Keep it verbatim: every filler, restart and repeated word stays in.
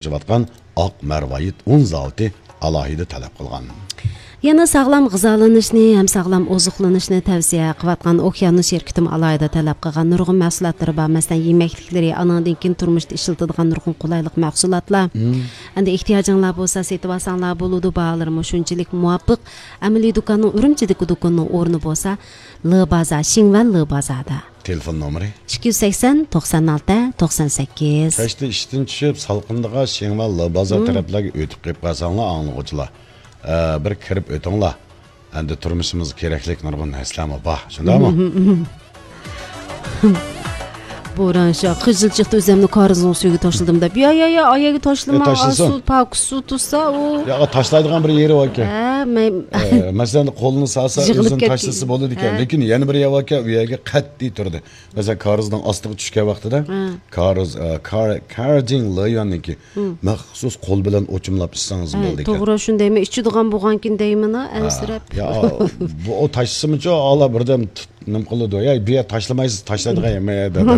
ئېچىۋاتقان ئاق مەرۋايىت ئۇن زاۋۇتى ئالاھىدە تەلەپ قىلغان. يەنە ساغلام غىزالىنىشنى ھەم ساغلام ئوزۇقلىنىشنى تەۋسىيە قىلىۋاتقان ئوكيانۇس شىركىتىمۇ ئالاھىدە تەلەپ قىلغان نۇرغۇن مەھسۇلاتلىرى بار. مەسىلەن، يېمەكلىكلىرى، ئانىڭدىن كېيىن تۇرمۇشتا ئىشلىتىدىغان نۇرغۇن قولايلىق مەھسۇلاتلار. مم. ئەمدى ئېھتىياجىڭلار بولسا سېتىۋالساڭلار بولىدۇ، باھالىرىمۇ شۇنچىلىك مۇۋاپىق. ئەمەلىي دۇكاننىڭ ئۈرۈمچىدىكى دۇكىنىنىڭ ئورنى بولسا، لې بازار، شىڭۋەن لې بازاردا. تېلېفون نومۇرى؟ ئىككى يۈز سەكسەن، توقسان ئالتە، توقسان سەككىز. كەچتە ئىشتىن چۈشۈپ، سالقىندىغا شىڭۋەن لې بازار مم. تەرەپلەرگە ئۆتۈپ قېلىپ قالساڭلار، ئاڭلىغۇچىلار، ئە، بىر كىرىپ ئۆتۈڭلار. ئەمدى تۇرمۇشىمىزغا كېرەكلىك نۇرغۇن نەرسىلەرمۇ بار، شۇنداقمۇ؟ بوران شاھ، قىزىل چىقتى ئۆزەمنى كارىزنىڭ سۈيىگە تاشلىدىم دەپ. يا، يا، يا، ئاياگە تاشلىما، ئە، تاشلىسۇن. سۇ، پاكىز سۇ تۇتسا، ئۇ. يا، تاشلايدىغان بىر يېرى باركەن. ھە، مەن. ئە، مەسىلەن، قولىنى سالسا، يىغىلىپ ئۆزىنى كەتكەن. تاشلىسا بولىدىكەن. ھە. لېكىن يەنە بىر يەر باركەن، ئۇ يەرگە قەتئىي تۇردى. مەسىلەن، كارىزنىڭ ئاستىغا چۈشكەن ۋاقتىدا، ھە. كارىز، ئە، كار-، كارجىڭ لېيۈەننىڭكى مم. مەخسۇس قول بىلەن ئوچۇملاپ ئىچسىڭىز ھە، بولىدىكەن. توغرا، شۇندايمەن. ئىچىدىغان بولغانكىن دەيمەن، ھە، ھە. ئەنسىرەپ. يا، بۇ، ئۇ تاشلىسىمۇچۇ، ئالا بىردەم تۇت-، نېمە قىلىدۇ؟ يا، بۇ يەر تاشلىمايسىز، تاشلايدىغان يەرمۇ يا، دەپ.